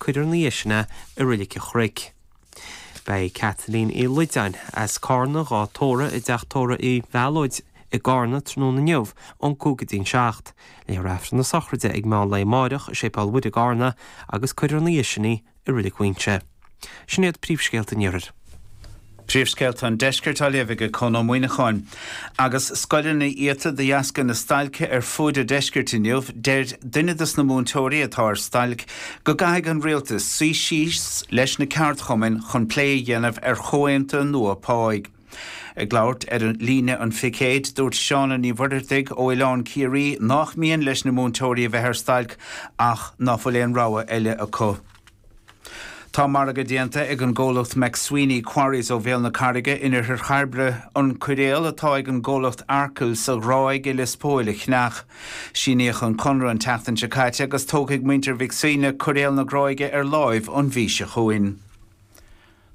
cuirfear ina dhiaidh sin é i Reilig an Chnoic. Beidh Kathleen Uí Loideáin as Cárna dhá tórramh i dteach tórraimh Uí Mhealóid i gCárna tráthnóna inniu ón 5 go dtí'n 7. Léifear Aifreann na sochraide ag meán lae amáireach i Séipéal Mhuire i gCárna agus cuirfear ina dhiaidh sin í i Reilig Mhuinseo. Sin iad príomhscéalta an Iarthair. Príomhscéalta an Deiscirt á léamh ag Conn Ó Muíneacháin. Agus scoileanna iata de dheasca na stailce ar fuaid an deiscirt inniu, deir duine dos na múinteoirí atá ar stailc go gcaithfidh an rialtas suí síos leis na ceardchumainn chun plé a dhéanamh ar chomhaontú nua páigh. Ag labhairt ar Líne an Phicéid, dúirt Shauna Ní Mhuircheartaigh ó Oileán Ciarraí nách mian leis na múinteoirí a bheith ar stailc ach ná fuil aon rogha eile acu. Tá margadh déanta ag an gcomhlacht McSweeney Quarries ó Bhéal na Carraige in oirthear Chairbre an coiréal atá ag an gcomhlacht Arkle sa Ghráig i Lios Póil a cheannach. Síníodh an conradh an tseachtain seo caite agus tógfaidh muintir Mhic Suibhne coiréal na Gráige ar láimh an mhí seo chugainn.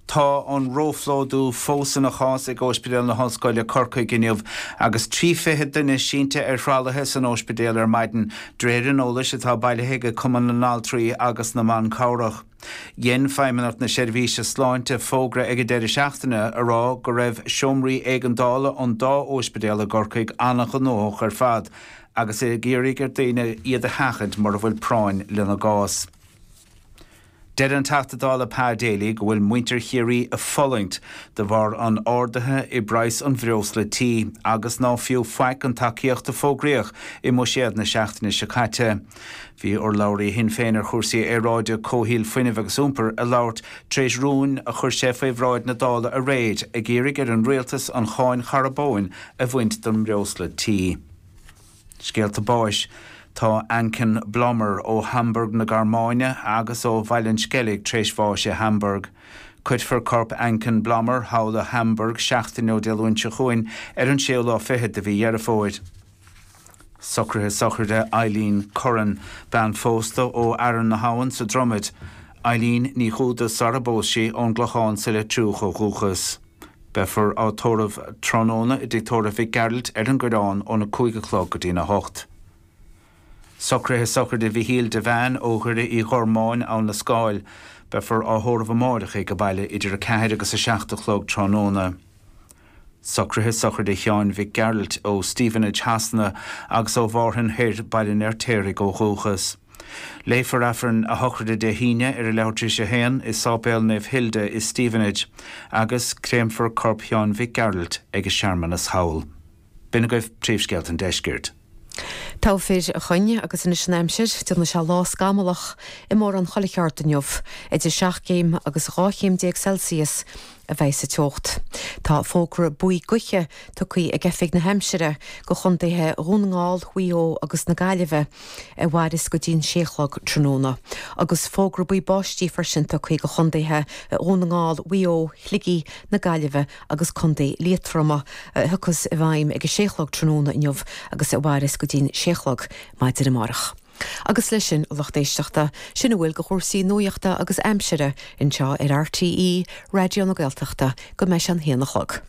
Tá an róphlódú fós ina chás ag Óispidéal na hOllscoile, Corcaigh inniu agus 30 duine sínte ar thralaithe san óispidéal ar maidin, de réir an eolais atá bailithe ag Cumann na nAltraí agus na mBan Cabhrach. Dhein Feidhmeannacht na Seirbhíse Sláinte fógra ag an deireadh seachtaine a rá go raibh seomraí éigeandála an dá óispidéal i gCorcaigh an-ghnóthach ar fad agus ag iarraidh ar daoine iad a sheachaint mura bhfuil práinn lena gcás. Deir an Teachta Dála Pa Daly go bhfuil muintir Chiarraí ag fulaingt de bharr an ardaithe i bpraghas an bhreosla tí agus ná fiú faic an tacaíocht a fógraíodh i mbuiséad na seachtaine seo caite. Bhí urlabhraí Shinn Féin ar chúrsaí aeráide, comhshaoil, fuinnimh agus iompair ag labhairt tar éis rúin a chuir sé faoi bhráid na Dála aréir ag iarraidh ar an rialtas an cháin charbóin a bhaint don mbreosla tí. Scéalta báis Tá Anken Blommer ó Hamburg na Gearmáine agus ó Bhaile an Sceilg tar éis bháis i Hamburg. Cuirfear corp Anken Blommer thall i Hamburg seachtain ó Dé Luain seo chugainn ar an séú lá fichead de mhí Dheireadh Fómhair. Socruithe sochraide Eileen Curran, bean phósta ó Fhearann na hAbhann sa Dromaid, Eileen Ní Dhúda sara bpós sí, ón gClochán sa Leitriúch ó dhúchas. Beifear á tórramh tráthnóna i dTigh Tórraimh Mhic Gearailt ar an gCoireán óna 5 a chlog go dtína 8. Socruithe sochraide Mhichíl Devane ó Dhoire Uí Ghormáin, Abhainn na Scáil. Beifear á thórramh amáireach ag baile idir 4 agus 7 a chlog tráthnóna. Socruithe sochraide Sheáin Mhic Gearailt ó Stevenage Shasana agus ó Mhárthain Thoir, Baile an Fheirtéaraigh ó dhúchas. Léifear Aifreann a shochraide Dé hAoine ar a leathuair tar éis a haon i Sáipéal Naomh Hilda i Stevenage agus créamfar corp Sheáin Mhic Gearailt ag a searmanas thall. B'in agaibh príomhscéalta an deiscirt. Togha fir a Choinn agus anois an aimsir, déanfaidh sé lá scamallach i mórán chuile cheard inniu, idir 7 gcéim agus 12 chéim Celsius a bheidh sa teocht. Tá fógra buí gaoithe tugtha ag Oifig na hAimsire go chontaetha Dhún na nGall, Mhaigh Eo agus na Gaillimhe a mhairfeas go dtí'n sé a chlog tráthnóna. Agus fógra buí báistí freisin tugtha go chontaetha Dhún na nGall, Mhaigh Eo, Shligigh, na Gaillimhe agus Contae Liatroma a thiocfas i bhfeidhm ag a sé a chlog tráthnóna inniu agus a mhairfeas go dtí'n sé a chlog maidin amárach. Agus leis sin, a lucht éisteachta, sin a bhfuil de chúrsaí nuachta agus aimsire anseo ar RTÉ Raidió na Gaeltachta go mbeidh sé an haon a chlog.